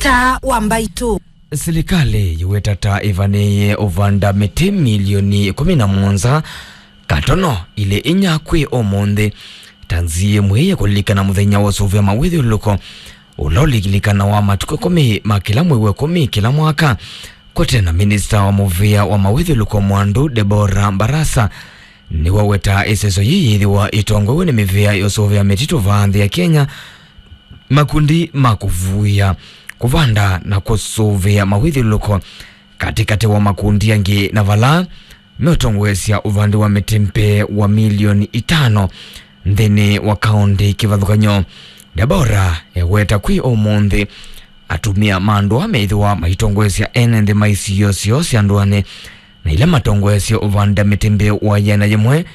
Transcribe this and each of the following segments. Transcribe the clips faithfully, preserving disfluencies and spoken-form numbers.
Taa wa Mbaitũ. Silikalĩ yĩweta ta ĩvanĩĩe ũvanda mĩtĩ milioni ĩkũmi na mũonza katono ilĩ inya kwĩ ũmũnthĩ, ta nzĩa ĩmwe ya kũlilikana mũthenya wa ũsũvĩa mawĩthyũlũlũko, ũla ũlilikanawa matukũ ĩkũmi ma kĩla mwei wa ĩkũmi kĩla mwaka. Kwete na minista wa mũvĩa wa mawĩthyũlũlũko Mwandu Deborah Barasa, nĩwaweta ĩseso yĩĩ yĩthĩwa ĩtongoew'e nĩ mĩvĩa ya ũsũvĩa mĩtitũ vaa nthĩ ya Kenya, makundi ma kũvuĩa, kũvanda na kũsũvĩa mawĩthyũlũlũko katĩkatĩ wa makundi angĩ, na vala meũtongoesya ũvandi wa mĩtĩ mbee wa milioni itano nthĩnĩ wa kaũntĩ kĩvathũkany'o. Deborah eweta kwĩ ũmũnthĩ atumĩa ma andũ aa meĩthĩwa maitongoesya ene nthĩ ma isio syoo sya ndũanĩ, na ila matongoesye ũvanda mĩtĩ mbee wa ĩana yĩmwe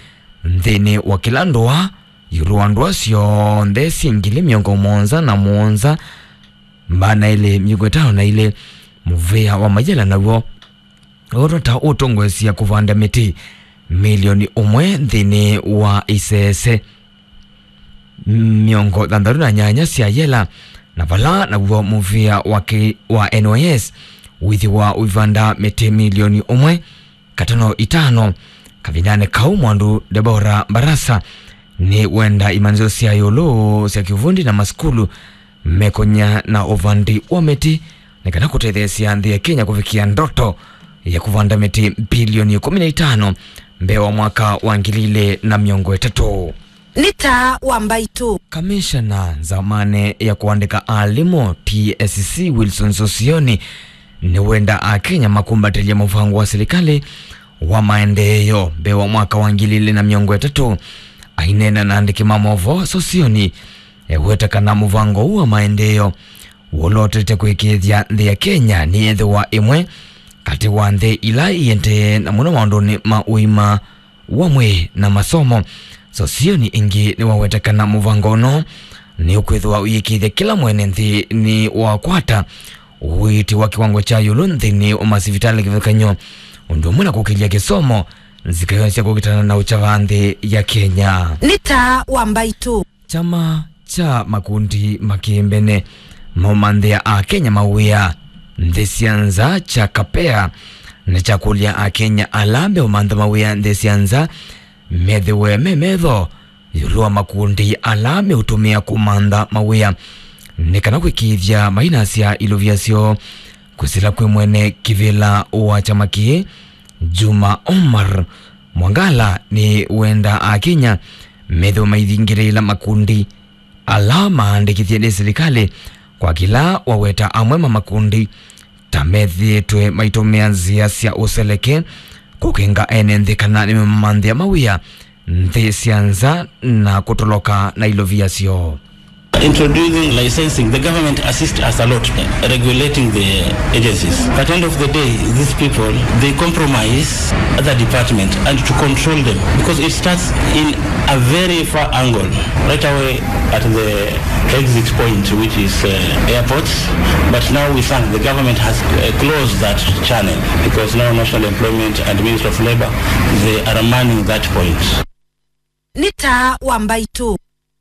nthĩnĩ wa kĩla ndũa, ĩũlũ wa ndũa syonthe syĩ ngili mĩongo mũonza na mũonza, maana elĩ mĩongo ĩtano na ilĩ. Mũvĩa wa Mayela naw'o ũtata ũtongoesya kũvanda mĩtĩ milioni ũmwe nthĩnĩ wa isese mĩongo thanthatũ na nyanya sya yela, na vala naw'o mũvĩa wa kĩ-, wa N Y S wĩthĩwa ũivanda mĩtĩ milioni ũmwe katono itano. Kavindanĩ kau, Mwandu Deborah Barasa nĩ wenda imanyĩsyo sya ĩũlũ sya kĩvundi na masukulu mekonya na ũvandi wa mĩtĩ nĩ kana kũtetheesya nthĩ ya Kenya kũvikĩa ndoto ya kũvanda mĩtĩ bilioni ĩkũmi na itano mbee wa mwaka wa ngili ilĩ na mĩongo ĩtatũ. Nĩ taa wa Mbaitũ. Kamishana nzamani ya kũandĩka alimũ T S C Wilson Sosioni nĩwenda Akenya makumbatĩlye mũvango wa silikalĩ wa maendeeo mbee wa mwaka wa ngili ilĩ na mĩongo ĩtatũ. Aineena na andĩki ma movoo, Sosioni eweta kana mũvango ũũ wa maendeeo wũlotete kũĩkĩĩthya nthĩ ya Kenya nĩyethĩwa ĩmwe katĩ wa nthĩ ila iendee na mũno maũndũnĩ ma ũima wa mwĩĩ na masomo. Sosioni ĩngĩ nĩwaweta kana mũvango ũno nĩũkwĩthĩwa ũyĩkĩĩthya kĩla mwene nthĩ nĩwakwata ũiiti wa kĩwango kya ĩũlũ nthĩnĩ wa masivitalĩ kĩvathũkany'o, ũndũ ũmwe na kũkĩlya kĩsomo nzika yonthe sya kũkitana na ũkya vaa nthĩ ya Kenya. Nĩ taa wa Mbaitũ. Kyama kya makundi ma kĩmbene maũmanthĩa Akenya mawĩa nthĩ sya nza kya KAPEA nĩkyakũlya Akenya ala meũmantha mawĩa nthĩ sya nza methĩwe me metho ĩũlũ wa makundi ala meũtũmĩa kũmantha mawĩa nĩ kana kwĩkĩĩthya mainasya ilovia syoo. Kwĩsĩla kwĩ mwene kĩvĩla wa kyama kĩĩ, Juma Omar Mwangala, nĩwenda Akenya methĩwe maithingĩlĩĩla makundi ala maandĩkĩthye nĩ silikalĩ, kwa kĩla waweta amwe ma makundi ta methĩĩtwe maitũmĩa nzĩa sya ũseleke kũkĩnga ene nthĩ kana nĩmeũmamanthĩa mawĩa nthĩ sya nza na kũtoloka na ilovia syoo. Introducing licensing, the government assist us a lot, eh, regulating the agencies. But end of the day, these people, they compromise other department and to control them, because it starts in a very far angle, right away at the exit point, which is, uh, airports. But now we thank the government has, uh, closed that channel, because now National Employment and Ministry of Labor, they are manning that point. Nĩ taa wa Mbaitũ.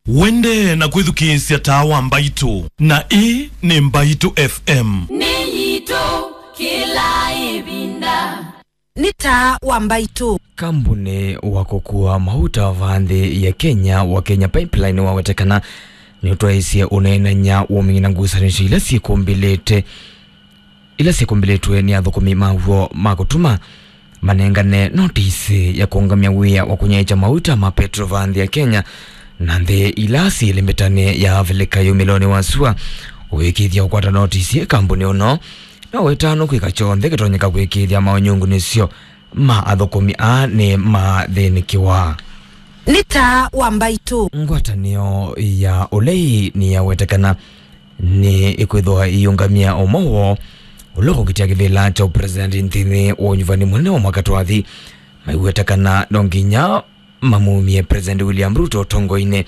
Wende na kwĩthukĩĩsya taa wa Mbaitũ, na ĩĩ nĩ Mbaitũ F M. Nĩ yitũ kĩla ĩvinda. Nĩ taa wa Mbaitũ. Kambuni wa kũkua mauta vaa nthĩ ya Kenya wa Kenya Pipeline wawetekana nĩũtwaĩsye ũneenany'a wũmina ngusanĩsyo ila syĩkũmbĩlĩte, ila syĩkũmbĩlĩtwe nĩ athũkũmi maw'o ma kũtuma manengane notisi ya kũũngamya wĩa wa kũnyaĩĩkya mauta ma petro vaa nthĩ ya Kenya na nthĩ ila syĩ ĩlĩmbĩtanĩ ya Avilika yumĩlonĩ wa sua. Ũĩkĩĩthya ũkwata notisi, kambuni ũno no wĩtanwe kwĩka kyonthe kĩtonyeka kũĩkĩĩthya maũnyungunĩsyo ma athũkũmi aa nĩmathĩnĩkĩwa. Nĩ taa wa Mbaitũ. Ngwatanĩo ya ũlei nĩyawetekana nĩ ĩkwĩthwa ĩiũngamĩa ũmwe woo ũla ũkũkitĩa kĩvĩla kya ũpresident nthĩnĩ wa ũnyuvani mũnene wa mwaka twathi. Maiweta kana no nginya mamumie President William Ruto ũtongoinĩ.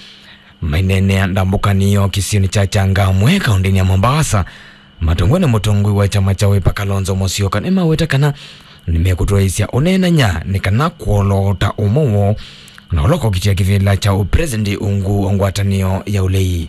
Maineenea ndambũkanĩo kĩsionĩ kya Changamwe, kaũntĩnĩ ya Mombasa, matongwe nĩ mũtongoi wa kyama kya Wiper Kalonzo Musyoka, nĩmaweta kana nĩmekũtwaĩsya ũneenany'a nĩ kana kwoloota ũmwe woo na ũla ũkokitĩa kĩvĩla kya ũpresident ungu wa ngwatanĩo ya ũlei.